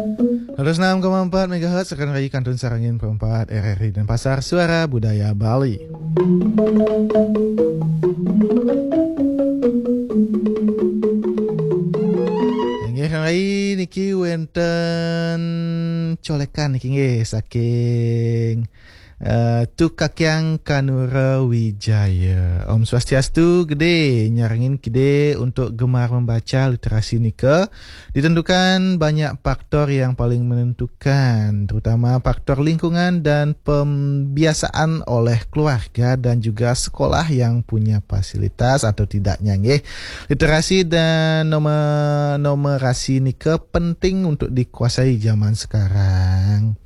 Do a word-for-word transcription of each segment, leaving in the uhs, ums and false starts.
Seratus enam koma empat megahertz, Rekan Rai, kantun sareng Pro empat R R I Denpasar, Suara Budaya Bali. Inggih, Rekan Rai, niki wenten colekan niki nggih saking Eh, Tu Kakyang Kanura Wijaya. Om Swastiastu, Gede, nyarengin Gede untuk gemar membaca. Literasi nika ditentukan banyak faktor yang paling menentukan, terutama faktor lingkungan dan pembiasaan oleh keluarga dan juga sekolah yang punya fasilitas atau tidaknya, nggih. Literasi dan nome-, numerasi nika penting untuk dikuasai zaman sekarang.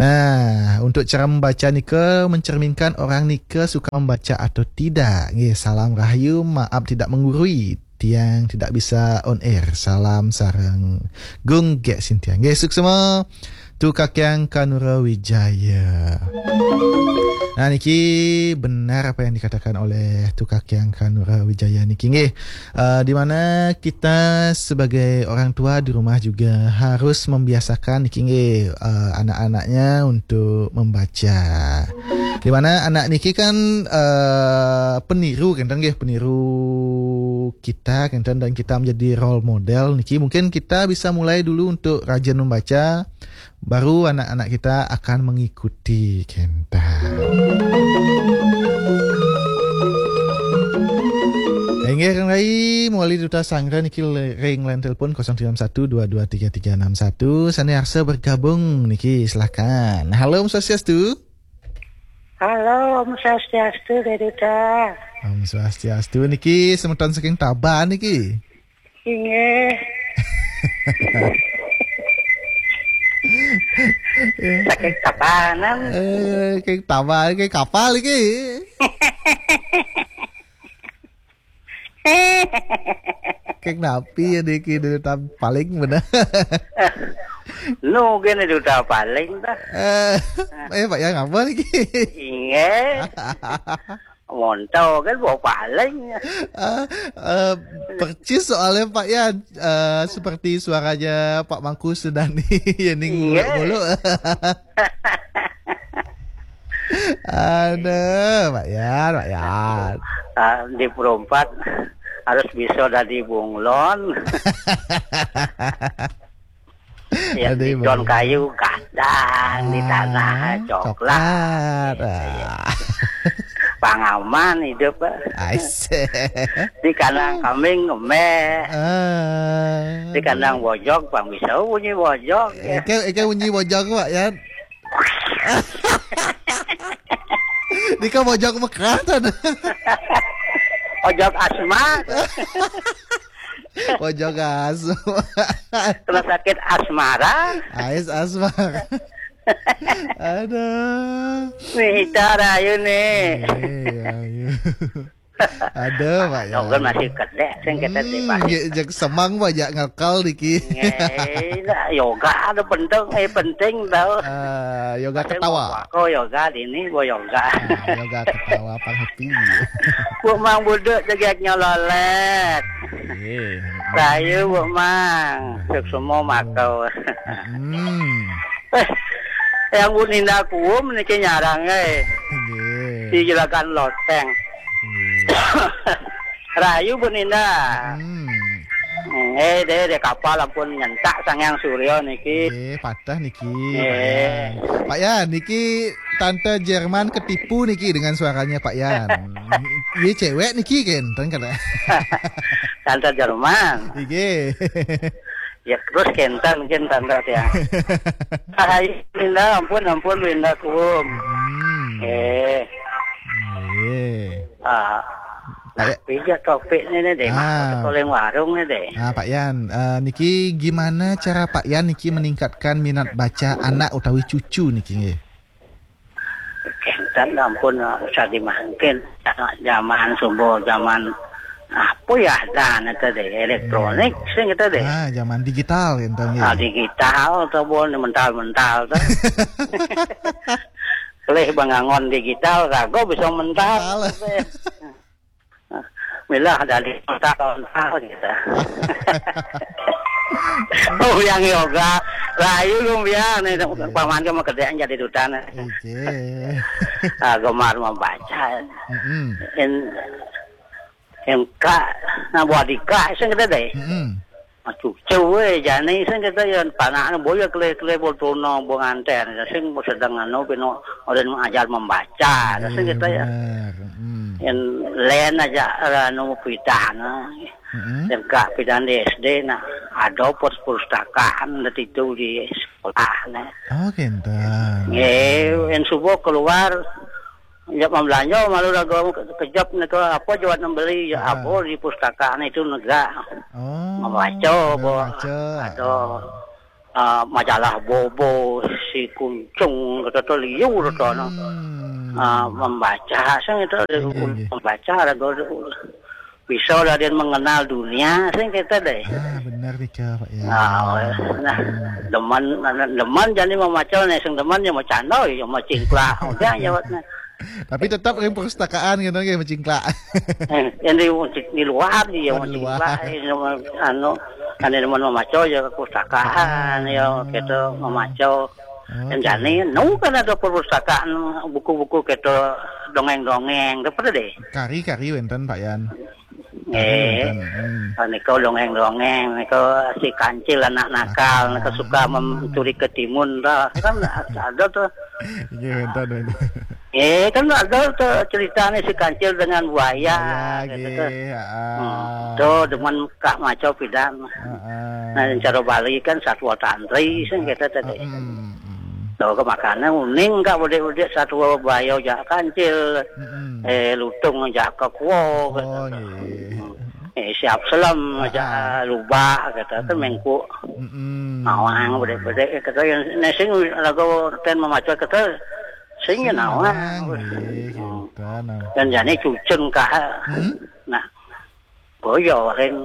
Nah, untuk cara membaca nika mencerminkan orang nika suka membaca atau tidak. Nggih, salam rahayu, maaf tidak menggurui. Tiang tidak bisa on air. Salam sareng Gung Gek Sintiang. Nggih, suksma. Tu Kakyang Kanura Wijaya. Nah, niki benar apa yang dikatakan oleh Tu Kakyang Kanura Wijaya niki nggih. Eh, di mana kita sebagai orang tua di rumah juga harus membiasakan niki nggih, eh, anak-anaknya untuk membaca. Di mana anak niki kan, eh, peniru kenten nggih, peniru kita kenten dan kita menjadi role model niki. Mungkin kita bisa mulai dulu untuk rajin membaca, baru anak-anak kita akan mengikuti kenten. Inggih, Rekan Rai, mewali duta sanggra niki le-, ring line telepon kosong tiga enam satu dua dua tiga tiga enam satu. Sane arsa bergabung niki, silakan. Halo, Om Swastiastu. Halo, Om Swastiastu, Dek Duta. Om Swastiastu niki semeton saking Taban niki. Inggih. Saking Tabanan. Eh, saking Taban, saking kapal iki. Keng napi ya niki, Duta paling bener. Nu kene Duta paling dah. Eh, eh, Pak Yan, ngapa niki? Inggih. Monto kan bawa paling. Eh, eh, percis soalnya, Pak Yan. Eh, seperti suaranya Pak Mangku Sudani. Ya ning. Iya. Bulu-bulu. Aduh, Pak Yan, Pak Yan. Ah, di Pro empat harus bisa dadi bunglon. Ya, aduh, di Ibu. Don kayu gadang, di tanah coklat. Coklat. Ah. Pangaman hidup, Pak. Aise. Di kandang kambing ngemeh. Ah. Di kandang bojog, pang bisa bunyi bojog. Eke, eke bunyi bojog, Pak Yan. Nika bojog mekrah, tan. Bojog asma. Bojog asma. Kena sakit asmara. Ais asmara. Aduh. Mita rayu nih. Iya, iya. Aduh, Pak Yan. Yoga masih kedek, sing kita di Pak. Nggih, jeg semang, Pak, jak ngekal niki. Nggih, nah, yoga ada penting, eh, penting tau. Ah, yoga penting ketawa. Aku yoga di ini, gua yoga. Ah, yoga ketawa, pang happy. Bu Mang Buduk jegek nyololet. Iya. Rayu, Bu Mang. Sukses semua makau. Hmm. Eh, yang Bu Ninda Kuum niki nyarang, eh. Nggih. Di Juragan Loteng. Nggih. Rayu, Bu Ninda. Hmm. Eh, deh, deh, kapal ampun nyentak Sang Hyang Surya niki. Nggih, patah niki, eh. Pak Yan. Pak Yan, niki Tante Jerman ketipu niki dengan suaranya Pak Yan. Iya, cewek niki, kan? Tante kata. Tante Jerman. Nggih. Ya, terus kenten, kenten, Tante, ya. Hai, Linda, ampun, ampun, Linda, kuum. Hmm. Eh. Nggih. Ah. Pak Ya-, tapi ya topiknya nih deh, ah. Masuk ke warung nih deh. Ah, Pak Yan, eh, niki gimana cara Pak Yan niki meningkatkan minat baca anak utawi cucu niki nggih? Kenten ampun, usah dimangkin. Zaman subuh, zaman apa ya, dan itu deh, elektronik, hmm, sing itu deh. Ah, zaman digital, kenten nggih. Ah, digital, tuh, bon, mental-mental, tuh. Leh bangangon digital, rago bisa mental. Mental. Gitu. Milah dari mental-mental, gitu. Oh, yang yoga. Lah, iya, Gung, biar nih, paman ke mau kerjaan jadi duta nih. Oke. Ah, gemar membaca. Mm-mm. En, en ka, nah, buat dika, sing kita deh. Mm-mm. Aduh, cewek, jani, sing kita ya, panaknya boya kele-kele bol tono, bol nganten, sing sedang anu, pino, orang ajar membaca, sing kita ya. Benar. Mm. En len aja, anu, pidan, nah. Mm-mm. En ka pidan di S D, nah, ada perpustakaan di situ di sekolah, nah. Oh, kenten. Nggih, en subuh keluar, ya, membelanja, malu raga kejap nika apa jawat membeli, ya, apa di pustakaan itu negak. Oh, membaca, apa, membaca. Ada, ah, majalah Bobo, si Kuncung, kata tu liur tu, no. Hmm. Ah, membaca, sing itu, iya, iya, membaca, raga bisa lah dia mengenal dunia, sing kita deh. Ah, benar nih, Kak, Pak, ya. Nah, nah, demen, demen jadi membaca nih, sing demen ya macandoi, ya macingklak, udah jawatnya. Tapi tetap ring perpustakaan gitu, nggih, macingklak. Eh, yang di, di luar dia, oh, di luar, macingklak, eh, anu, anu demen membaca ya perpustakaan, ya, gitu, membaca. Oh, dan oke. Jani, nu kan ada perpustakaan, buku-buku gitu, dongeng-dongeng, apa deh? Kari-kari wenten, Pak Yan. Eh, hmm. Nika dongeng-dongeng, nika si Kancil anak nakal, nika suka mencuri ketimun, dah. Kan ada tuh. Iya, bentar, bentar. Eh, kan ada tuh ceritanya si Kancil dengan buaya, buaya, gitu tuh. Nggih, heeh. Hmm. Tuh, demen Kak maco pidan. Heeh. Nah, cara Bali kan satwa tantri, sing kita tadi. Heeh, heeh. Tuh, ke makanan uning Kak, udik-udik satwa buaya, jak Kancil. Mm-mm. Eh, lutung, jak kekuo, oh, gitu. Nggih. Eh, siap selam, ah, jak lubak, gitu, kan, mm-mm, mengkuk. Mm-mm. Nawang, bedek-bedek, gitu, yang nesing lagu ten memacu, gitu, sing, sing nawang. Nawang, nggih, gitu, nah. Dan jani cucun kah. Hmm? Nah, boyo, ren,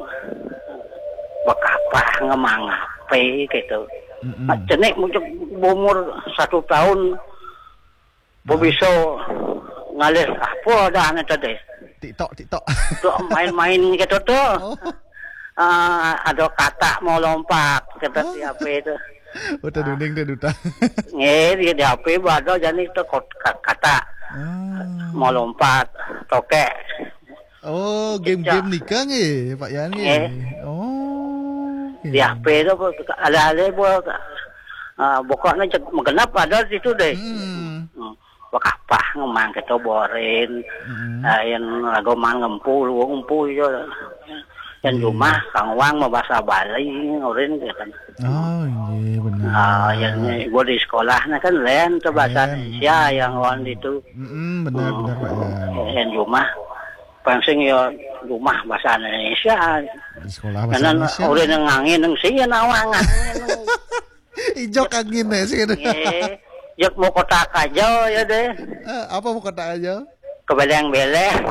bekapah, ngemang ape, gitu. Mm-mm. Nah, jenik muncul umur satu tahun, bo bisa ngalih apa dah ane tadi? TikTok, TikTok. Tok main-main gitu tuh. Oh. Ah, ada katak mau lompat, kata, oh, si H P itu. Udah, ah, dunding deh, duta. Nggih, di, di H P ada jani itu kot-, ka-, katak. Ah. Mau lompat, tokek. Oh, game-game nika nggih, Pak Yan nggih? Nggih. Oh, di, oke, H P tu, alih-alih buat, ah, pokoknya cek menggenap ada di situ deh. Hmm. Hmm. Bekapah ngemang kita borin. Hmm. Ah, yang lagu man ngempu, lu ngempu je. Yang, iya, rumah kang wang mau bahasa Bali, orin gitu kan. Oh, iya, benar. Ah, yang gua di sekolah nah kan lain tu bahasa Indonesia yang orang itu. Hmm, benar, hmm, benar, Pak Yan. Yang rumah pansing ya rumah bahasa Indonesia. Di sekolah bahasa Indonesia. Karena orang yang ngangin, yang sih ya nawang ngangin. Ijok angin ya sih gitu. Nggih. Jek mau kotak aja ya deh. Eh, apa mau kotak aja? Kebeleng-beleng.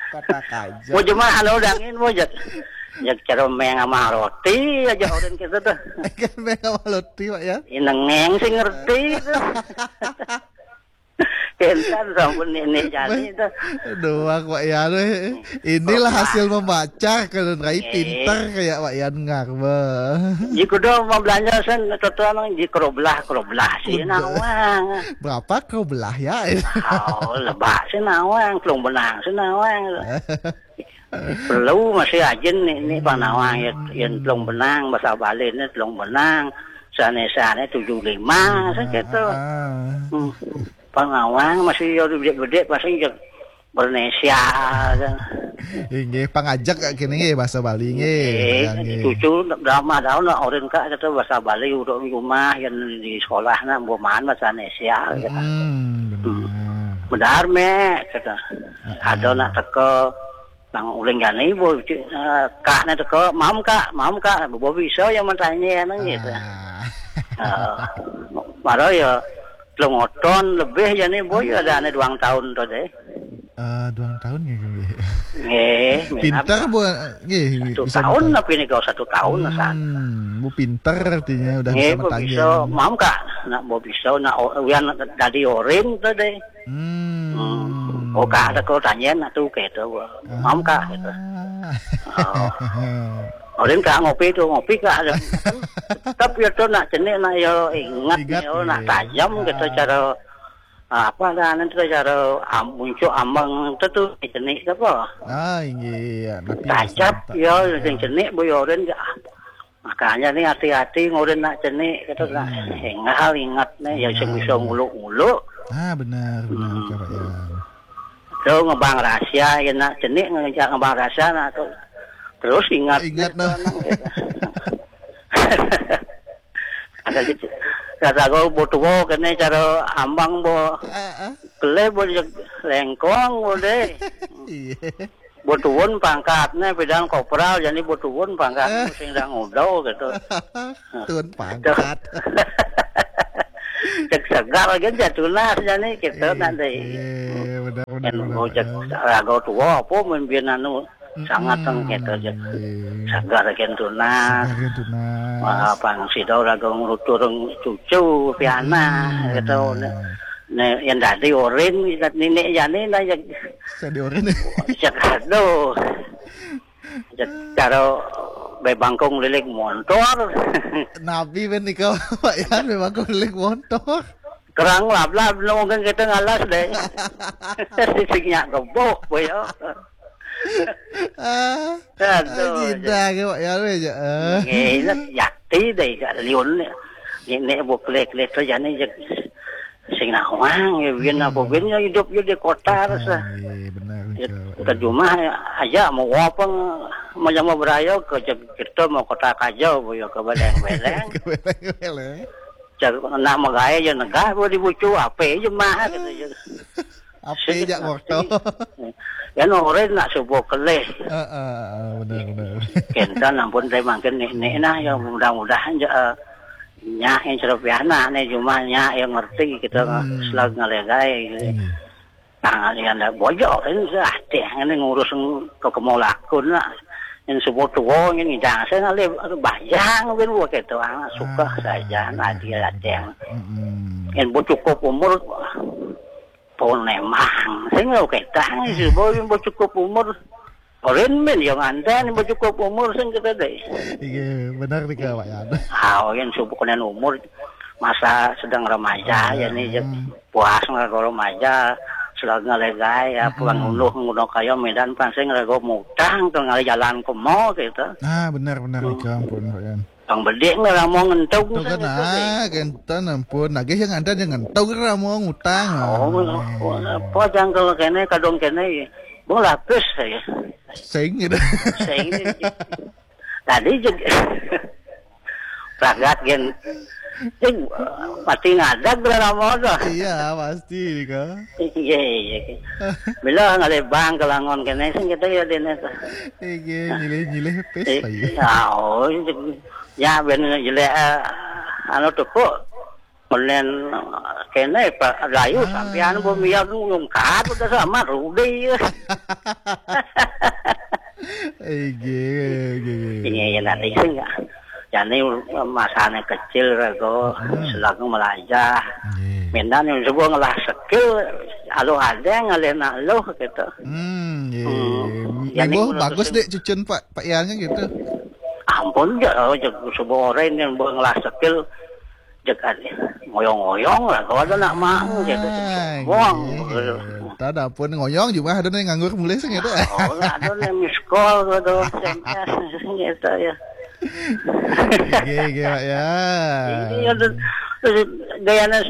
Kotak aja. Mau cuma anu dangin mau jek. Jek ceromeng sama roti aja orang kita tuh. Kan sama roti, Pak, ya? Inengeng sih ngerti tuh. Kentan sampun nenek jani tuh. Doang, Pak Yan, eh. Inilah hasil membaca, kalau Rai pinter kayak Pak Yan ngarba. Jika udah mau belanja sen, tutuan di keroblah, keroblah sih nawang. Berapa keroblah ya? Oh, lebak sih nawang, telung benang sih nawang. Perlu masih ajin nih, nih, Pak Nawang, ya, yang telung benang, bahasa Bali ini telung benang, sane-sane tujuh lima, saya gitu. Hmm. Pangawang masih ya gede-gede, masih ya Bernesia, kan. Inggih, pangajak kak kini nggih, bahasa Bali nggih. Nggih, cucu drama daun lah, orang kak kata bahasa Bali, udah rumah yang di sekolah nah, buman bahasa Indonesia, gitu. Hmm, benar. Benar, Mek, kata. Ada nak teka, nang uling gani, bu, eh, kak nak teka, mam kak, mam kak, bu bisa yang bertanya, nang gitu. Ah. Eh, mara ya, telung oton lebih ya nih, bu, ya ada ane duang tahun tu deh. Eh, duang tahun nggih, nggih. Nggih, pinter, Bu, nggih, satu tahun. Tapi ni kau satu tahun, hmm, Bu pinter artinya udah bisa bertanya. Nggih, Bu bisa, mam kak, nak Bu bisa, nak o-, uyan dadi orin tu deh. Hmm. Hmm. Oh, kak ada kau tanya nak tu ke tu, Bu. Mam kak, gitu. Ah. Oh. Orang ka ngopi tu, ngopi ka ada. Tetap ya tu nak cenik, nak ya ingat, ingat ya, nak tajam kita cara, ah, apa dah nanti cara am, muncul ambang tu tu cenik apa. Ah, inggih, ya, tapi tajam ya, yang cenik boyorin ya. Makanya ni hati-hati ngurin nak cenik kita nak ingat, ingat ni ya, sing bisa nguluk-nguluk. Ah, benar, benar, hmm. Kak Yan. Tu ngebang rahasia, ya nak cenik ngejak ngebang rahasia nak tu. Terus ingat. Ingat nah. Ada gitu. Kata kau butuh kene cara ambang bo. Heeh. Kele bo lengkong bo deh. Iya. Butuhun pangkatnya bidang kopral, jadi butuhun pangkat sing dang udah gitu. Tuan pangkat. Cek segar aja jatuh nas jadi gitu nanti. Iya, benar, benar, benar. Cek rago tua apa mimpin anu sangat kan gitu aja. Segar aja tunas. Segar aja tunas. Wah, pang sida rago ngrutur cucu piana gitu. Nah, yang tadi orin nenek jani lah yang saya diorin. Cek aduh. Cek karo bebangkung lilik montor. Nabi ben nika Pak Yan bebangkung lilik montor. Kerang lablab nunggu kita ngalas deh. Sisingnya gebuk boyo. Ah, aduh, kita ke Pak Yan aja. Nginep jati deh gak liun. Ini bukle-kle tuh jani sing nawang ya, win apa win ya hidup ya di kota terus lah. Iya, benar. Ke rumah aja mau apa, mau sama berayo ke kita mau kota kaja boyo ke beleng-beleng. Ke beleng-beleng. Cak nak megai aja negah bo dibucu apa aja mah gitu aja. Apa aja waktu. Ya nore nak subuh kelih. Heeh, benar, benar. Kenten ampun saya makin nih nah ya mudah-mudahan ya. Nya yang ceropiana nih cuma nya yang ngerti kita selag ngalegai gitu. Nah, yang ada bojok ini sudah teh ini ngurus ke kemolakun lah. Yang sebut tuwo ini ngidang saya ngalih bajang bin buat itu anak suka saja nah dia yang yang bu cukup umur pun emang saya nggak ketang sih boy bu cukup umur. Orin men yang anten bu cukup umur sing kita deh. Iya, benar nih Kak Pak ya. Ah, yang subuh kena umur masa sedang remaja ya nih puas nggak kalau remaja selalu ngalegai ya pulang uluh ngono kaya Medan pansing rego mutang ke ngalih jalan ke mall gitu. Ah, benar benar nih Kak, ampun Pak Yan. Bang bedik nggak mau ngentong. Tuh kan ah, kenten ampun, lagi yang ada yang ngentong ra mau ngutang. Oh, apa jangkel kene kadung kene ya. Bang lapis saya. Sing gitu. Sing. Tadi jeg ragat gen. Sing mati ngadag lah nama tu. Iya, pasti nih Kak. Iya, iya. Bila ngalih bang kelangon kene sing kita ya dene tu. Iya, nyilih-nyilih pes lagi. Ya, oh, ya ben nyilih anu tepuk. Menen kene Pak Layu sampean bu miak ngungkat udah sama Rudi. Ege, ege, ege. Iya ya nanti sih enggak. Jadi masane kecil rego selaku melajah. Medan yang sebuah ngelah skill alu ada ngalih nak loh gitu. Hmm, iya. Jadi bagus dek cucun Pak Pak Yan kan gitu. Ampun ya, oh, sebuah orang yang buat ngelah skill jeg ngoyong-ngoyong lah kalau ada nak mang gitu. Wong. Tadi pun ngoyong juga ada nih nganggur mulai sih gitu. Oh, ada nih miskol gitu, S M S gitu ya. Oke, oke Pak ya. Ini ada gayanya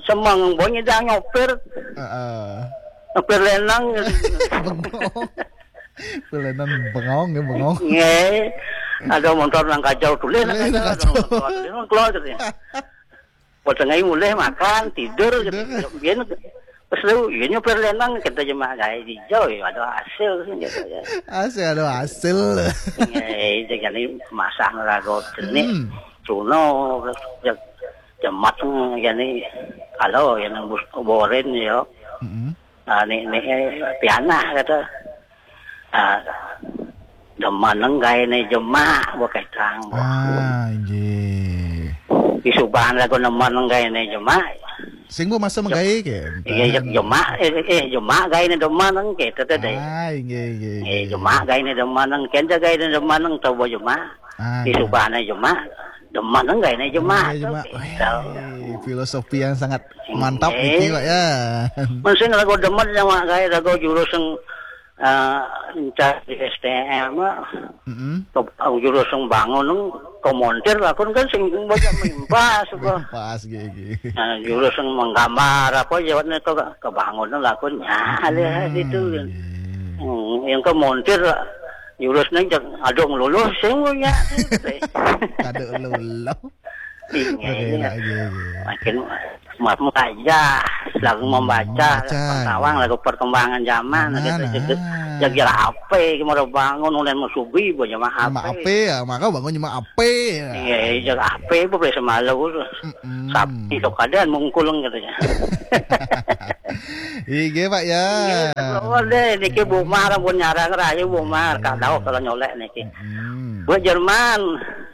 semang bonyi dah nyopir. Heeh. Nyopir lenang gitu. Bengong. Kulenan bengong ya bengong. Nggih. Ada motor nang kacau tulis nang kacau. Nang kacau. Tulis nang keluar gitu ya. Pas tengah mulai makan, tidur gitu. Biar pas lu ini perlenang kita cuma kayak hijau ya ada hasil sih gitu ya. Hasil ada hasil. Nggih, jadi masang rago jenik. Hmm. Cuno jemat jadi kalau yang boren ya. Hmm. Ah, ni ni pianah kata. Ah, demen nenggai ni jemak bukai tang. Ah, inggih. Isubahan lagu demen nenggai ni jemak. Sing bu masa magaé ké. Iya, iya, jemak, eh, eh, jemak gaéné demen ké, téh, téh, téh. Ah, inggih, inggih, Eh, inggih. Jemak gaéné demen, kén gaéné demen, coba jemak. Ah, Di iya. Subahna jemak, demen gaéné jemak, Ah, iya, tuh, jemak. Gitu. Wéh, filosofi yang sangat mantap Inggih. Niki, Pak, ya. Mun sing rago demen sama gaé, rago jurus yang, eh, encan di S T M, mah. Mm-mm. Ke, jurus yang bangun, ke montir, lakun kan sing baca mimpas, apa. Pas, gigi. Nah, jurus yang menggambar, apa, jawabnya ke, kebangun, lakun, ya, ada gitu. Iya. Hmm, yang ke montir, jurusnya cek, "Aduh, ngeluluh, sing punya." Kada luluh. Iya, Oke, iya. Lagi, lagi. Makin ma-, membaca, lagu Hmm, membaca, membaca, pengetahuan, iya. Lagu perkembangan zaman, Zaman, gitu. Jadi, ah. Jadi apa, gimana bangun, mulai mau subuh, banyak mah Cuma apa. Apa ya, maka bangun cuma apa ya. Iya, iya, jadi apa, bu, boleh semalu. Mm-mm. Sapi, itu keadaan mungkul, katanya. Iya, Pak, ya. Iya, deh, niki Bu Mar, ampun nyarang rahayu, Bu Mar. Iya. Kadau kalau nyolek niki. Mm-mm. Bu Jerman,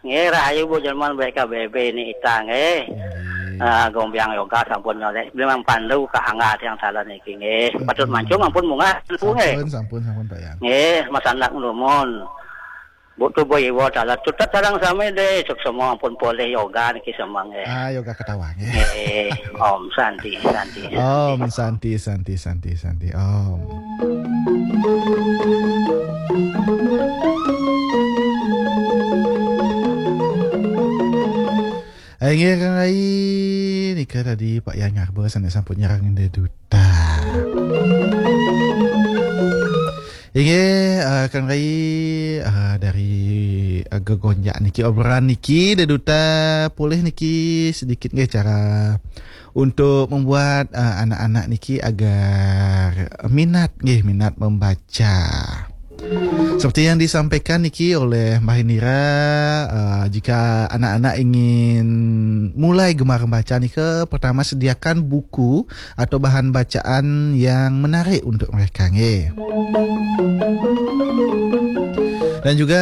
nggih, rahayu Bu Jerman, B K B B ini ita, nggih. Nggih. Ah, Gombiang Yoga sampun nyolek. Beli Mang Pandu ka angga yang salah niki, nggih. Mm-mm. Patut mancung ampun munggah, nggih. Sampun, sampun, sampun, Pak Yang. Nggih, Mas Anak Numun. Bu tu Bu Iwo dalah tutet sareng sami deh, suk semua ampun polih yoga niki semua, nggih. Ah, yoga ketawa, nggih. Nggih, Om Santi, Santi, Santi. Om Santi, Santi, Santi, Santi, Om. Inggih, Kang Rai, nika tadi Pak Yang Ngarba sané sampun nyarengin Dé Duta. Inggih, eh, Kang Rai, eh, dari, eh, gegonjak niki, obrolan niki, Dé Duta, polih niki sedikit nggih cara untuk membuat, eh, anak-anak niki agar minat nggih, minat membaca. Seperti yang disampaikan niki oleh Mbah Indira, eh, jika anak-anak ingin mulai gemar membaca nika, pertama sediakan buku atau bahan bacaan yang menarik untuk mereka, nggih. Dan juga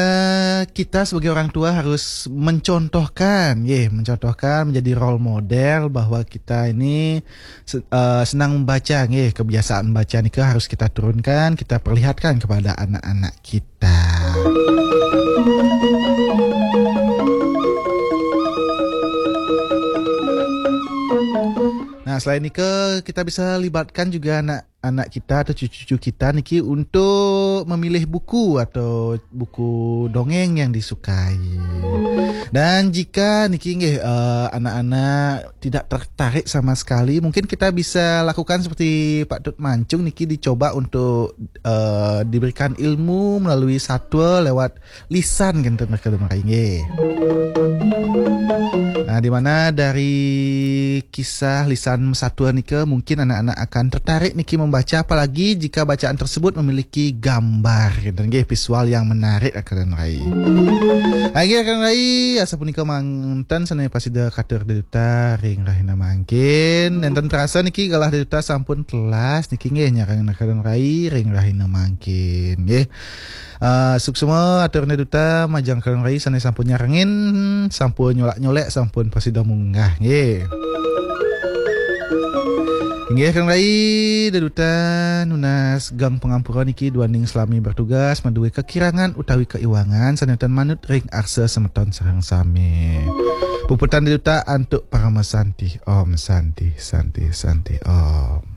kita sebagai orang tua harus mencontohkan, nggih, mencontohkan, menjadi role model bahwa kita ini se-, eh, senang membaca, nggih, kebiasaan membaca nika harus kita turunkan, kita perlihatkan kepada anak-anak kita. Nah, selain nika, kita bisa libatkan juga anak-anak kita atau cucu-cucu kita niki untuk memilih buku atau buku dongeng yang disukai. Dan jika niki nggih, eh, anak-anak tidak tertarik sama sekali, mungkin kita bisa lakukan seperti Pak Tut Mancung niki, dicoba untuk, eh, diberikan ilmu melalui satwa lewat lisan, kinten, Kang Rai, nggih. Nah, di mana dari kisah lisan satwa nika mungkin anak-anak akan tertarik niki membaca, apalagi jika bacaan tersebut memiliki gambar, kinten, nggih, visual yang menarik, Kang Rai. Inggih, Kang Rai, asapunika manten sané pasida katur Dé Duta ring rahina mangkin. Nénten terasa niki galah Dé Duta sampun telas niki, nggih, nyarengin Kang Rai ring rahina mangkin, nggih. Eh, suksma atur Dé Duta majeng Kang Rai sané sampun nyarengin, sampun nyolak-nyolek, sampun pasida munggah, nggih. Inggih, Kang Rai, Dé Duta nunas geng pangampura niki duaning salami bertugas, madué kakirangan utawi kaiwangan sané tan manut ring arsa semeton sareng sami. Puputang Dé Duta antuk parama santi. Om Santi, Santi, Santi, Om.